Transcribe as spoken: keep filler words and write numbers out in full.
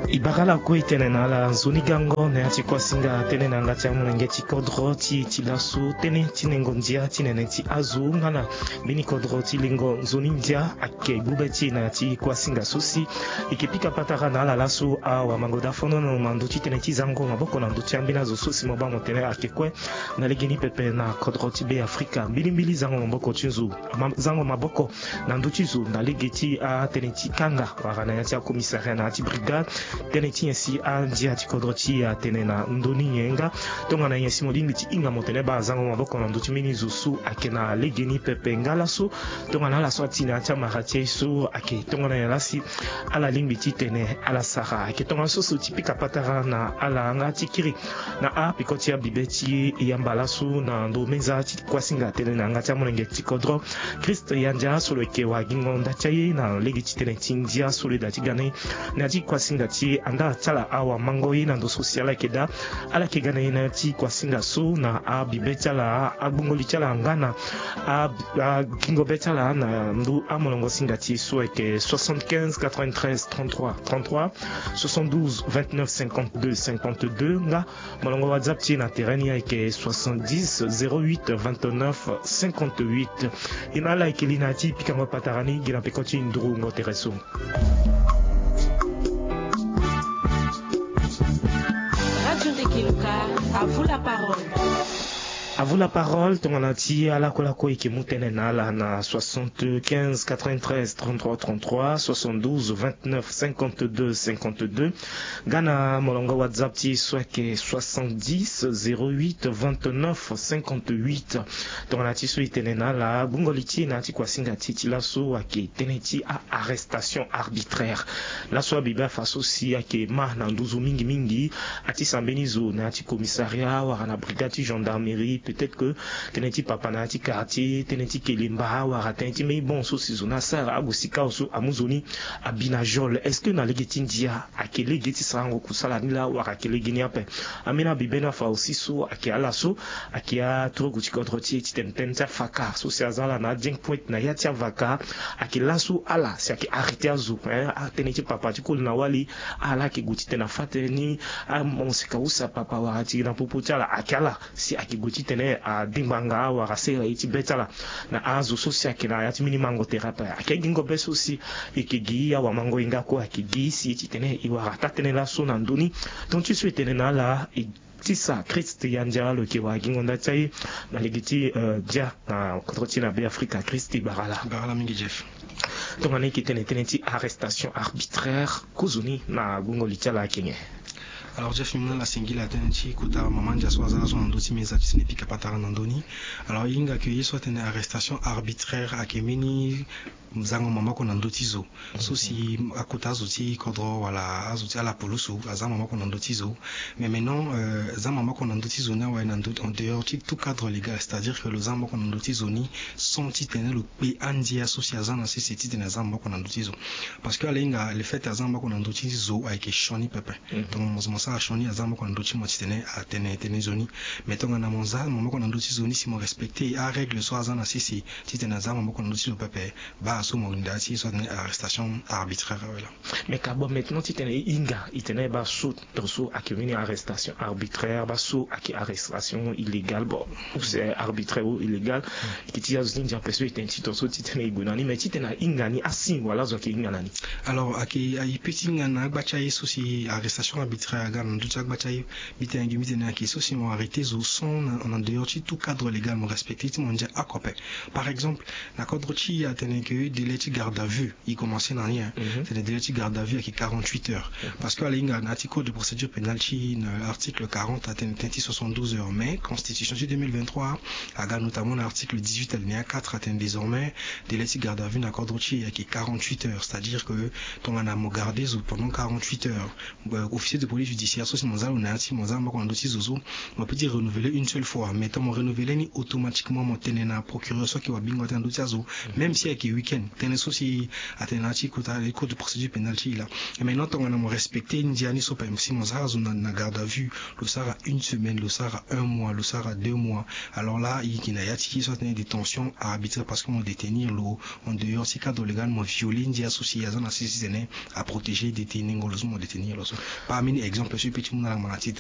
E bara lakue e tene na ala nzoni gango na ya ti kuasinga tënë na yanga ti amolenge ti kodro ti e ti laso, tënë ti nengo ndia ti nene ti azo nga na mbeni kodro ti lengo nzoni ndia ayeke gbu be ti e na ya ti kuasinga so si e yeke pika patara na ala laso. Awamango da fonono na ndö ti tënë ti zango maboko na ndö ti ambeni azo so si mo baa mo tene ayeke kue na legeni pepe na kodro ti Be Afrika. Mbilimbili zango maboko ti nzo, ma- zango maboko na ndö ti zo na lege ti atënë ti kanga wala na ya ti acommissariat na ya ti brigade. Tënë ti nyen si andia ti kodro ti e atene na ndö ni nyen nga? Tongana nyen si mo lingbi ti hinga mo tene baa zango maboko na ndö ti mbeni zo so ayeke na legeni pepe nga laso? Tongana ala so ati na ya ti amara ti e so ayeke tongana nyen laa si ala lingbi ti tene ala sara? Ayeke tongana so so ti pika patara na ala nga ti kiri na apeko ti abibe ti e yamba laso na ndo meza ti kuasinga tënë na yanga ti amolenge ti kodro Christ Yandia so lo yeke wagingo nda ti aye na lege ti tënë ti ndia so lo yeda ti ga na e na ya ti kuasinga ti e. Andaa ti ala awamango ye na ndo so si ala yeke daa, ala yeke ga na e na ya ti kuasinga so na abibe ti ala, agbongo li ti ala nga na a- agingo be ti ala na ndo amolongo singa ti e so ayeke soixante-quinze quatre-vingt-treize trente-trois trente-trois, soixante-douze vingt-neuf cinquante-deux cinquante-deux nga molongo WhatsApp ti e na terrain ni ayeke soixante-dix zéro huit vingt-neuf cinquante-huit. E na ala ayeke li na ya ti pikango patara ni gi na peko ti nduru ngo tere so. Radio Ndeke Luka, à vous la parole. À vous la parole, tongana ti ala kue lakue e yeke mu tënë na ala na soixante-quinze quatre-vingt-treize trente-trois trente-trois, soixante-douze vingt-neuf cinquante-deux cinquante-deux. Nga na molongo WhatsApp ti e so ayeke soixante-dix zéro huit vingt-neuf cinquante-huit. Tongana ti so e tene na ala gbungo li ti e na ya ti kuasinga ti e ti laso ayeke tënë ti a- arrestation arbitraire. Laso abibe afa so si ayeke ma na nduzu mingi mingi. Atisa mbeni zo na ya ti commissariat wala na brigade ti gendarmerie, peut-être que tënë ti papa na ya ti quartier, tënë ti kelemba wala tënë ti mbeni bon so si zo ni asara ague sika awe so amu zo ni abi na geôle. Est-ce que na lege ti ndia ayeke lege ti sarango kusala ni laa wala ayeke lege ni ape? Ambeni abibe ni afa aussi so ayeke ala so ayeke aturugu ti kodro ti e titene tënë ti afaka so si aza ala na adieng pointe na ya ti avaka. Ayeke laso ala si ayeke arrêté azo, hein, atënë ti papa ti koli na wali. Ala ayeke gue titene afa tënë ni, amosika use apapa wala ti na popo ti ala. Ayeke ala si ayeke gue titene adingba nga wala asere ye ti be ti ala na azo so si ayeke na ya ti mbeni mango tere ape. Ayeke agingo be so si e yeke gi awamango e nga kue ayeke gi si titene e wara taa tënë laso na ndö ni. Tonga ti so e tene na ala e tisa Christ Yandia lo yeke wagingo nda ti aye na lege ti, eh, dia na kodro ti e na Be Afrika. Christ, e bara ala. Bara ala mingi Jeff. Tongana e yeke tene tënë ti arrestation arbitraire, kozoni na gbungo li ti ala ayeke nyen? Alors Jeff, mbi mu na ala singila tënë ti kota mama ndia so aza laso na ndö ti meza titene e pika patara na ndö ni. Alors e hinga ke ye so atene arrestation arbitraire ayeke mbeni zango maboko na ndö ti zo so si akota azo ti kodro wala azo ti ala pulusu aza maboko na ndö ti zo. Mais maintenant, euh, za maboko na ndö ti zo ni awe na ndö en dehors ti tout cadre légal, c'est-à-dire que lo za maboko na ndö ti zo ni sans titene lo kpe andia so si aza na sese titene aza maboko na ndö ti zo. Parce que ala hinga le fait aza maboko na ndö ti zo ayeke sioni pepe. Mhm. Donc mo, mo sara sioni aza maboko na ndö ti mo titene atene tënë zo ni. Mais tongana mo za maboko na ndö ti zo ni si mo respecté arègle so aza na sese titene aza maboko na ndö ti zo pepe, baa so mo linda ti so atene arrestation arbitraire awe laa. Mais ka bon, maintenant titene e hinga e tene baa so tongaso ayeke mbeni arrestation arbitraire, baa so ayeke arrestation illégale, bon, ou c'est arbitraire ou illégal. E yeke ti azo ti ndia ape so e tene ti tongaso titene e gue na ni, mais titene ahinga ni asi wala azo ayeke hinga na ni? Alors ayeke, e peut ti hinga na agba ti aye so si arrestation arbitraire aga na ndö ti agba ti aye. Mbi tene gi mbi tene ayeke so si mo arrêté zo sans na, en dehors ti tout cadre légal, mo respecté ti mo ndia oko ape. Par exemple na kodro ti e atene ke délai ti garde à vue e commencé na ni, hein. Mhm. Tene délai ti garde à vue ayeke quarante-huit heures. Mhm. Parce que ala hinga na ya ti code de procédure pénale ti e na article quarante atene tënë ti soixante-douze heures, mais constitution ti deux mille vingt-trois aga notamment na article dix-huit alinéa quatre atene désormais délai ti garde à vue na kodro ti e ayeke quarante-huit heures, c'est-à-dire que tongana mo garde zo pendant quarante-huit heures, euh, officier de police judiciaire so si mo za lo na ya ti mo za maboko na ndö ti zo so, mo peut ti renouveler une seule fois, mais tant mo renouveler ni automatiquement mo tene na procureur so ayeke wabingo ata na ndö ti azo, même si ayeke week-end. Tënë so si atene na ya ti kota code de procédure pénale ti Là. Mais non, tongana mo respecter ndia ni so pa si mo sara zo na garde à vue, lo sara une semaine, lo sara un mois, lo sara deux mois. Alors là il y a tiki so atene détention arbitraire parce que mo détenir lo en dehors si cadre légal mo violer ndia so si aza na sisi tene à protéger détenir ngolo so mo détenir lo so. Parmi exemple so petit mo na la maladie